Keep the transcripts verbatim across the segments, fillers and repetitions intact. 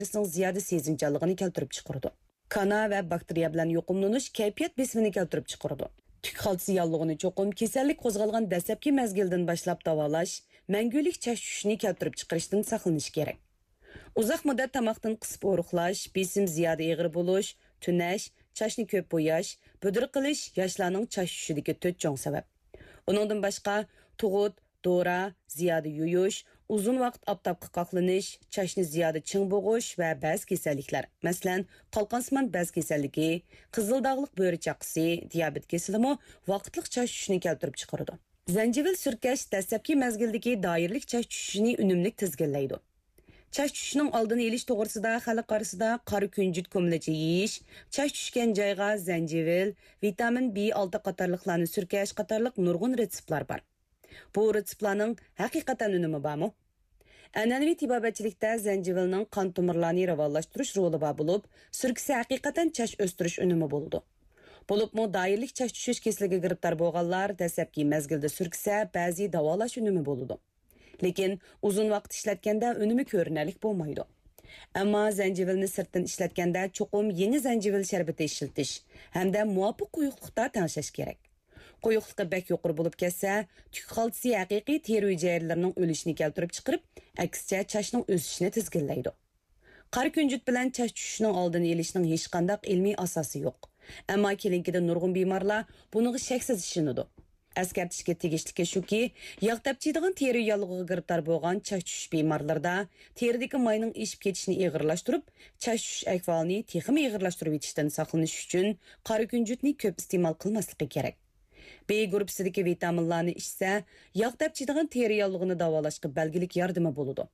تېرىسىنىڭ زىيادە سېزىمچانلىقىنى كەلتۈرۈپ چىقىرىدۇ. كانا ۋە باكتېرىيە بىلەن يۇقۇملىنىش كەيپىيات بېسىمىنى كەلتۈرۈپ چىقىرىدۇ. تۈك خالتىسى ياللۇغىنى چوقۇم كېسەللىك قوزغالغان دەسلەپكى مەزگىلدىن باشلاپ داۋالاش مەڭگۈلۈك چاچ چۈشۈشىنى كەلتۈرۈپ چىقىرىشتىن ساقلىنىش كېرەك. ئۇزاق مۇددەت تاماقتىن قىسىپ ئورۇقلاش، بېسىم زىيادە ئېغىر بولۇش، تۈنەش، چاچنى كۆپ بوياش، بۈدۈر قىلىش ياشلارنىڭ چاچ چۈشۈشىدىكى تۆت چوڭ سەۋەب. ئۇنىڭدىن باشقا، تۇغۇت، دورا، زىيادە يۇيۇش، ئۇزۇن ۋاقىت ئاپتاپقا قاقلىنىش، چاچنى زىيادە چىڭ بوغۇش ۋە بەزى كېسەللىكلەر، مەسىلەن، قالقانسىمان بەز كېسەللىكى، قىزىل داغلىق بۆرە چاقىسى، دىيابېت كېسىلىمۇ ۋاقىتلىق چاچ چۈشۈشنى كەلتۈرۈپ چىقىرىدۇ. زەنجىۋىل سۈركەش دەسلەپكى مەزگىلدىكى دائىرىلىك چاچ چۈشۈشىنى ئۈنۈملۈك تىزگىنلەيدۇ. چاچ چۈشۈشنىڭ ئالدىنى ئېلىش توغرىسىدا خەلق ئارىسىدا قارا كۈنجۈت كومىلىچە يېيىش، چاچ چۈشكەن جايغا زەنجىۋىل، ۋىتامىن بى ئالتە قاتارلىقلارنى سۈركەش قاتارلىق نۇرغۇن رېتسېپلار بار. بۇ رېتسېپلارنىڭ ھەقىقەتەن ئۈنۈمى بارمۇ؟ ئەنئەنىۋى تېبابەتچىلىكتە زەنجىۋىلنىڭ قان تومۇرلارنى راۋانلاشتۇرۇش رولى بار بولۇپ، سۈركىسە ھەقىقەتەن چاچ ئۆستۈرۈش ئۈنۈمى بولىدۇ. بولۇپمۇ دائىرىلىك چاچ چۈشۈش كېسىلىگە گىرىپتار بولغانلار دەسلەپكى مەزگىلدە سۈركىسە بەزى داۋالاش ئۈنۈمى بولىدۇ. لېكىن ئۇزۇن ۋاقىت ئىشلەتكەندە ئۈنۈمى كۆرۈنەرلىك بولمايدۇ. ئەمما زەنجىۋىلنى سىرتتىن ئىشلەتكەندە چوقۇم يېڭى زەنجىۋىل شەربىتى ئىشلىتىش ھەمدە مۇۋاپىق قويۇقلۇقتا تەڭشەش كېرەك. قويۇقلۇقى بەك يۇقىرى بولۇپ كەتسە، تۈك خالتىسى ھەقىقىي تېرە ھۈجەيرىلىرىنىڭ ئۆلۈشىنى كەلتۈرۈپ چىقىرىپ، ئەكسىچە چاچنىڭ ئۆسۈشىنى تىزگىنلەيدۇ. قارا كۈنجۈت بىلەن چاچ چۈشۈشنىڭ ئالدىنى ئېلىشنىڭ ھېچقانداق ئىلمىي ئاساسى يوق. ئەمما كېلىنكىدە نۇرغۇن بىمارلار بۇنىڭغا شەكسىز ئىشىنىدۇ. ئەسكەرتىشكە تېگىشلىكى شۇكى، ياغ تەپچىيدىغان تېرە ياللۇغىغا گىرىپتار بولغان چاچ چۈشۈش بىمارلىرىدا تېرىدىكى ماينىڭ ئېشىپ كېتىشىنى ئېغىرلاشتۇرۇپ، چاچ چۈشۈش ئەھۋالىنى تېخىمۇ ئېغىرلاشتۇرۇۋېتىشتىن ساقلىنىش ئۈچۈن، قارا كۈنجۈتنى كۆپ ئىستېمال قىلماسلىقى كېرەك. بې گۇرۇپپىسىدىكى ۋىتامىنلارنى ئىچسە، ياغ تەپچىيدىغان تېرە ياللۇغىنى داۋالاشقا بەلگىلىك ياردىمى بولىدۇ.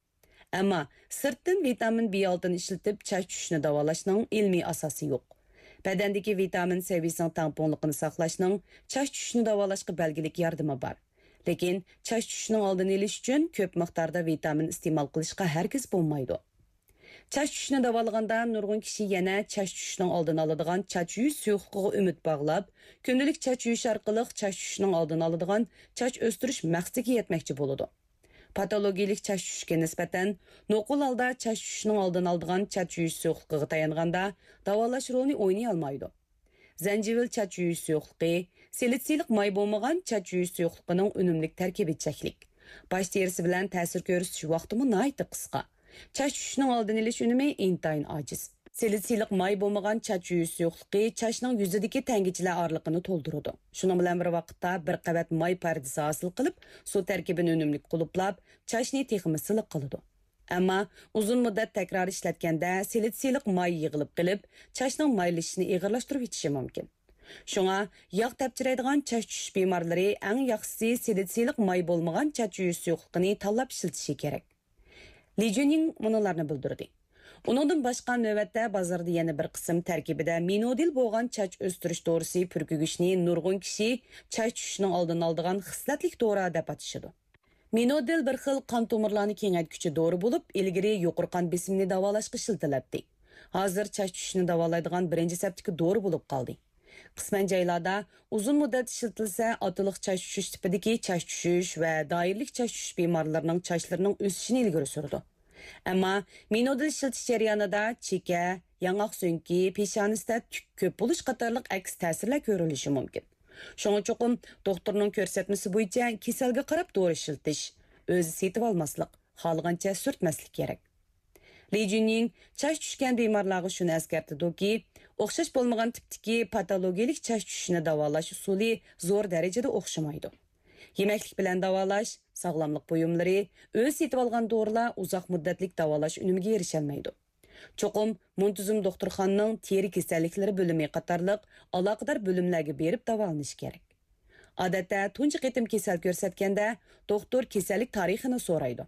ئەمما سىرتتىن ۋىتامىن بى ئالتىنى ئىشلىتىپ چاچ چۈشۈشنى داۋالاشنىڭ ئىلمىي ئاساسى يوق. بەدەندىكى ۋىتامىن سەۋىيىسىنىڭ تەڭپۇڭلۇقىنى ساقلاشنىڭ چاچ چۈشۈشنى داۋالاشقا بەلگىلىك ياردىمى بار. لېكىن چاچ چۈشۈشنىڭ ئالدىنى ئېلىش ئۈچۈن كۆپ مىقداردا ۋىتامىن ئىستېمال قىلىشقا ھەرگىز بولمايدۇ. چاچ چۈشۈشنى داۋالىغاندا نۇرغۇن كىشى يەنە چاچ چۈشۈشنىڭ ئالدىنى ئالىدىغان چاچ يۇيۇش سۇيۇقلۇقىغا ئۈمىد باغلاپ، كۈندىلىك چاچ يۇيۇش ئارقىلىق چاچ چۈشۈشنىڭ ئالدىنى ئالىدىغان چاچ ئۆستۈرۈش مەقسىتىگە يەتمەكچى بولىدۇ. پاتولوگىيىلىك چاچ چۈشۈشكە نىسبەتەن، نوقۇل ھالدا چاچ چۈشۈشنىڭ ئالدىنى ئالىدىغان چاچ يۇيۇش سۇيۇقلۇقىغا تايانغاندا، داۋالاش رولىنى ئوينىيالمايدۇ. زەنجىۋىل چاچ يۇيۇش سۇيۇقلۇقى، سىلىتسىيلىق ماي بولمىغان چاچ يۇيۇش سۇيۇقلۇقىنىڭ ئۈنۈملۈك تەركىبى چەكلىك. باش تېرىسى بىلەن تەسىر كۆرسىتىش ۋاقتىمۇ ناھايىتى قىسقا. چاچ چۈشۈشنىڭ ئالدىنى ئېلىش ئۈنۈمى ئىنتايىن ئاجىز. سىلىتسىيلىق ماي بولمىغان چاچ يۇيۇش سۇيۇقلۇقى چاچنىڭ يۈزىدىكى تەڭگىچىلەر ئارىلىقىنى تولدۇرىدۇ. شۇنىڭ بىلەن بىر ۋاقىتتا، بىر قەۋەت ماي پەردىسى ھاسىل قىلىپ، سۇ تەركىبىنى ئۈنۈملۈك قۇلۇپلاپ، چاچنى تېخىمۇ سىلىق قىلىدۇ. ئەمما ئۇزۇن مۇددەت تەكرار ئىشلەتكەندە، سىلىتسىيلىق ماي يىغىلىپ قېلىپ، چاچنىڭ مايلىشىشىنى ئېغىرلاشتۇرۇۋېتىشى مۇمكىن. شۇڭا، ياغ تەپچىرەيدىغان چاچ چۈشۈش بىمارلىرى ئەڭ ياخشىسى سىلىتسىيلىق ماي بولمىغان چاچ يۇيۇش سۇيۇقلۇقىنى تاللاپ ئىشلىتىشى كېرەك. لى جۈنيىڭ مۇنۇلارنى بىلدۈردى. ئۇنىڭدىن باشقا، نۆۋەتتە بازاردا يەنە بىر قىسىم تەركىبىدە مىنودىل بولغان چاچ ئۆستۈرۈش دورىسى پۈركۈگۈچنى نۇرغۇن كىشى چاچ چۈشۈشنىڭ ئالدىنى ئالىدىغان خىسلەتلىك دورا دەپ ئاتىشىدۇ. مىنودىل بىر خىل قان تومۇرلارنى كېڭەيتكۈچى دورا بولۇپ، ئىلگىرى يۇقىرى قان بېسىمىنى داۋالاشقا ئىشلىتىلەتتى. ھازىر چاچ چۈشۈشنى داۋالايدىغان بىرىنچى سەپتىكى دورا بولۇپ قالدى. قىسمەن جايلاردا ئۇزۇن مۇددەت ئىشلىتىلسە، ئاتىلىق چاچ چۈشۈش تىپىدىكى چاچ چۈشۈش ۋە دائىرىلىك چاچ چۈشۈش بىمارلىرىنىڭ چاچلىرىنىڭ ئۆسۈشىنى ئىلگىرى سۈرىدۇ. ئەمما مىنودىل ئىشلىتىش جەريانىدا چېكە، ياڭاق سۆڭىكى، پېشانىسىدە تۈك كۆپ بولۇش قاتارلىق ئەكس تەسىرلەر كۆرۈلۈشى مۇمكىن. شۇڭا چوقۇم دوختۇرنىڭ كۆرسەتمىسى بويىچە كېسەلگە قاراپ دورا ئىشلىتىش، ئۆزى سېتىۋالماسلىق، خالىغانچە سۈرتمەسلىك كېرەك. لى جۈنيىڭ چاچ چۈشكەن بىمارلارغا شۇنى ئەسكەرتىدۇكى، ئوخشاش بولمىغان تىپتىكى پاتولوگىيىلىك چاچ چۈشۈشنى داۋالاش ئۇسۇلى زور دەرىجىدە ئوخشىمايدۇ. يېمەكلىك بىلەن داۋالاش، ساغلاملىق بۇيۇملىرى، ئۆزى سېتىۋالغان دورىلار ئۇزاق مۇددەتلىك داۋالاش ئۈنۈمىگە ئېرىشەلمەيدۇ. چوقۇم مۇنتىزىم دوختۇرخانىنىڭ تېرە كېسەللىكلىرى بۆلۈمى قاتارلىق ئالاقىدار بۆلۈملەرگە بېرىپ داۋالىنىش كېرەك. ئادەتتە تۇنجى قېتىم كېسەل كۆرسەتكەندە، دوختۇر كېسەللىك تارىخىنى سورايدۇ.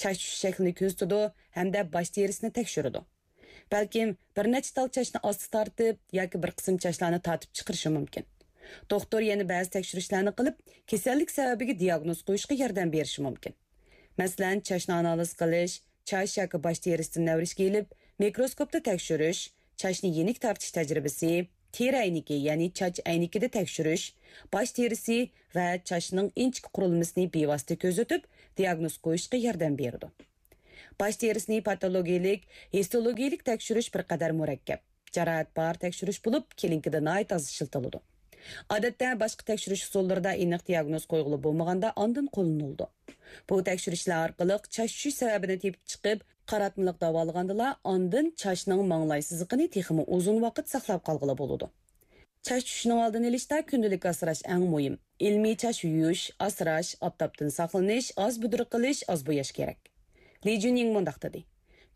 چاچ چۈشۈش شەكلىنى كۆزىتىدۇ ھەمدە باش تېرىسىنى تەكشۈرىدۇ. بەلكىم بىر نەچچە تال چاچنى ئاستا تارتىپ ياكى بىر قىسىم چاچلارنى تارتىپ چىقىرىشى مۇمكىن. دوختۇر يەنە بەزى تەكشۈرۈشلەرنى قىلىپ، كېسەللىك سەۋەبىگە دىياگنوز قويۇشقا ياردەم بېرىشى مۇمكىن. مەسىلەن، چاچنى ئانالىز قىلىش، چاچ ياكى باش تېرىسىدىن نەۋرىشكە ئېلىپ، مىكروسكوپتا تەكشۈرۈش، چاچنى يېنىك تارتىش تەجرىبىسى، تېرە ئەينىكى، يەنى چاچ ئەينىكىدە تەكشۈرۈش، باش تېرىسى ۋە چاچنىڭ ئىنچىكە قۇرۇلمىسىنى بىۋاسىتە كۆزىتىپ، دىياگنوز قويۇشقا ياردەم بېرىدۇ. باش تېرىسىنى پاتولوگىيەلىك، ھىستولوگىيەلىك تەكشۈرۈش بىر قەدەر مۇرەككەپ، جاراھەت بار تەكشۈرۈش بولۇپ، كلىنىكىدا ناھايىتى ئاز ئىشلىتىلىدۇ. ئادەتتە باشقا تەكشۈرۈش ئۇسۇللىرىدا ئېنىق دىياگنوز قويغىلى بولمىغاندا ئاندىن قوللىنىلىدۇ. بۇ تەكشۈرۈشلەر ئارقىلىق چاچ چۈشۈش سەۋەبىنى تېپىپ چىقىپ، قاراتمىلىق داۋالىغاندىلا ئاندىن چاچنىڭ ماڭلاي سىزىقىنى تېخىمۇ ئۇزۇن ۋاقىت ساقلاپ قالغىلى بولىدۇ. چاچ چۈشۈشنىڭ ئالدىنى ئېلىشتا كۈندىلىك ئاسراش ئەڭ مۇھىم. ئىلمىي چاچ يۇيۇش، ئاسراش، ئاپتاپتىن ساقلىنىش، ئاز بۈدرە قىلىش، ئاز بوياش كېرەك. لى جۈنيىڭ مۇنداق دېدى: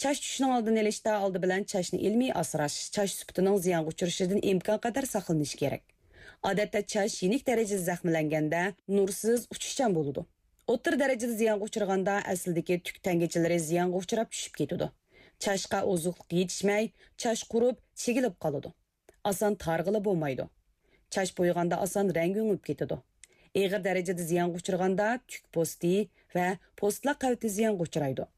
چاچ چۈشۈشنىڭ ئالدىنى ئېلىشتا ئالدى بىلەن چاچنى ئىلمىي ئاسراش، چاچ سۈپىتىنىڭ زىيانغا ئۇچرىشىدىن ئىمكانقەدەر ساقلىنىش كېرەك. ئادەتتە چاچ يېنىك دەرىجىدە زەخىملەنگەندە نۇرسىز، ئۇچۇشچان بولىدۇ. ئوتتۇرا دەرىجىدە زىيانغا ئۇچرىغاندا ئەسلىدىكى تۈك تەڭگىچىلىرى زىيانغا ئۇچراپ چۈشۈپ كېتىدۇ. چاچقا ئوزۇقلۇق يېتىشمەي، چاچ قۇرۇپ، چىگىلىپ قالىدۇ. ئاسان تارىغىلى بولمايدۇ. چاچ بويىغاندا ئاسان رەڭگى ئۆڭۈپ كېتىدۇ. ئېغىر دەرىجىدە زىيانغا ئۇچرىغاندا تۈك پوستى ۋە پوستلاق قەۋىتى زىيانغا ئۇچرايدۇ.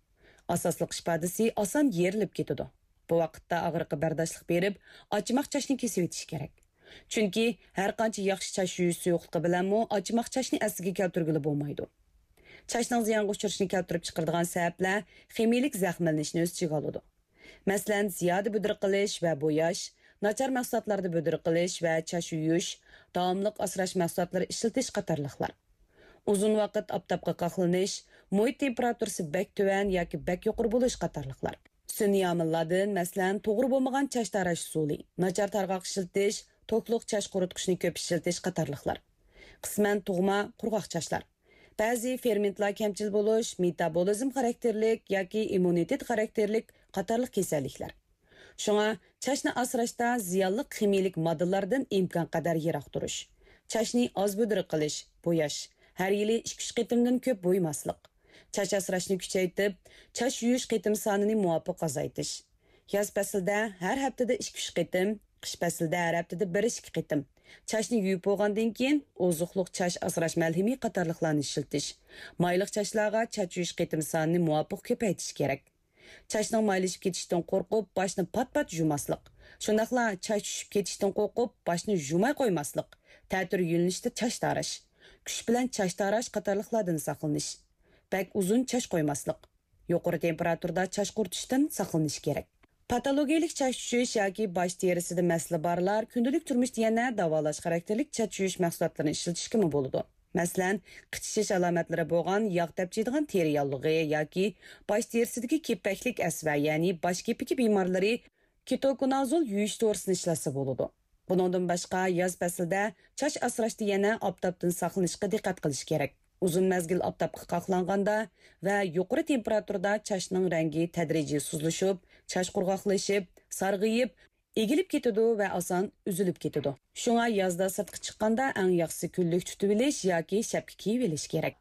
ئاساسلىق ئىپادىسى ئاسان يېرىلىپ كېتىدۇ. بۇ ۋاقىتتا ئاغرىققا بەرداشلىق بېرىپ، ئاچىماق چاچنى كېسىۋېتىش كېرەك. چۈنكى ھەرقانچە ياخشى چاچ يۇيۇش سۇيۇقلۇقى بىلەنمۇ ئاچىماق چاچنى ئەسلىگە كەلتۈرگىلى بولمايدۇ. چاچنىڭ زىيانغا ئۇچرىشىنى كەلتۈرۈپ چىقىرىدىغان سەۋەبلەر خىمىيىلىك زەخىملىنىشنى ئۆز ئىچىگە ئالىدۇ. مەسىلەن، زىيادە بۈدرە قىلىش ۋە بوياش، ناچار مەھسۇلاتلاردا بۈدرە قىلىش ۋە چاچ يۇيۇش، داۋاملىق ئاسراش مەھسۇلاتلىرى ئىشلىتىش قاتارلىقلار. ئۇزۇن ۋاقىت ئاپتاپقا قاقلىنىش، مۇھىت تېمپېراتۇرىسى بەك تۆۋەن ياكى بەك يۇقىرى بولۇش قاتارلىقلار. سۈنئىي ئامىللاردىن، مەسىلەن، توغرا بولمىغان چاچ تاراش ئۇسۇلى، ناچار تارغاق ئىشلىتىش، توكلۇق چاچ قۇرۇتقۇچنى كۆپ ئىشلىتىش قاتارلىقلار. قىسمەن تۇغما، قۇرغاق چاچلار. بەزى فېرمېنتلار كەمچىل بولۇش، مېتابولىزم خاراكتېرلىك ياكى ئىممۇنىتېت خاراكتېرلىك قاتارلىق كېسەللىكلەر. شۇڭا چاچنى ئاسراشتا زىيانلىق خىمىيىلىك ماددىلاردىن ئىمكانقەدەر يىراق تۇرۇش. چاچنى ئاز بۈدرە قىلىش، بوياش. ھەر يىلى ئىككى-ئۈچ قېتىمدىن كۆپ بويىماسلىق. چاچ ئاسراشنى كۈچەيتىپ، چاچ يۇيۇش قېتىم سانىنى مۇۋاپىق ئازايتىش. ياز پەسلىدە ھەر ھەپتىدە ئىككى-ئۈچ قېتىم، قىش پەسلىدە ھەر ھەپتىدە بىر-ئىككى قېتىم. چاچنى يۇيۇپ بولغاندىن كېيىن ئوزۇقلۇق چاچ ئاسراش مەلھىمى قاتارلىقلارنى ئىشلىتىش. مايلىق چاچلارغا چاچ يۇيۇش قېتىم سانىنى مۇۋاپىق كۆپەيتىش كېرەك. چاچنىڭ مايلىشىپ كېتىشىدىن قورقۇپ، باشنى پات-پات يۇماسلىق. شۇنداقلا چاچ چۈشۈپ كېتىشىدىن قورقۇپ، باشنى يۇماي قويماسلىق. تەتۈر يۆنىلىشتە چاچ تاراش. كۈچ بىلەن چاچ تاراش قاتارلىقلاردىن ساقلىنىش. بەك ئۇزۇن چاچ قويماسلىق. يۇقىرى تېمپېراتۇرىدا چاچ قۇرۇتۇشتىن ساقلىنىش كېرەك. پاتولوگىيەلىك چاچ چۈشۈش ياكى باش تېرىسىدە مەسىلە بارلار كۈندىلىك تۇرمۇشتا يەنە داۋالاش خاراكتېرلىك چاچ يۇيۇش مەھسۇلاتلىرىنى ئىشلىتىشكىمۇ بولىدۇ. مەسىلەن، قىچىشىش ئالامەتلىرى بولغان ياغ تەپچىيدىغان تېرە ياللۇغى ياكى باش تېرىسىدىكى كېپەكلىك ئەسۋە، يەنى باش كېپىكى بىمارلىرى كېتوكونازول يۇيۇش دورىسىنى ئىشلەتسە بولىدۇ. بۇنىڭدىن باشقا، ياز پەسلىدە چاچ ئاسراشتا يەنە ئاپتاپتىن ساقلىنىشقا دىققەت قىلىش كېرەك. ئۇزۇن مەزگىل ئاپتاپقا قاقلانغاندا ۋە يۇقىرى تېمپېراتۇرىدا چاچنىڭ رەڭگى تەدرىجىي سۇسلىشىپ، چاچ قۇرغاقلىشىپ، سارغىيىپ، ئېگىلىپ كېتىدۇ ۋە ئاسان ئۈزۈلۈپ كېتىدۇ. شۇڭا يازدا سىرتقا چىققاندا ئەڭ ياخشىسى كۈنلۈك تۇتۇۋېلىش ياكى شەپكە كىيىۋېلىش كېرەك.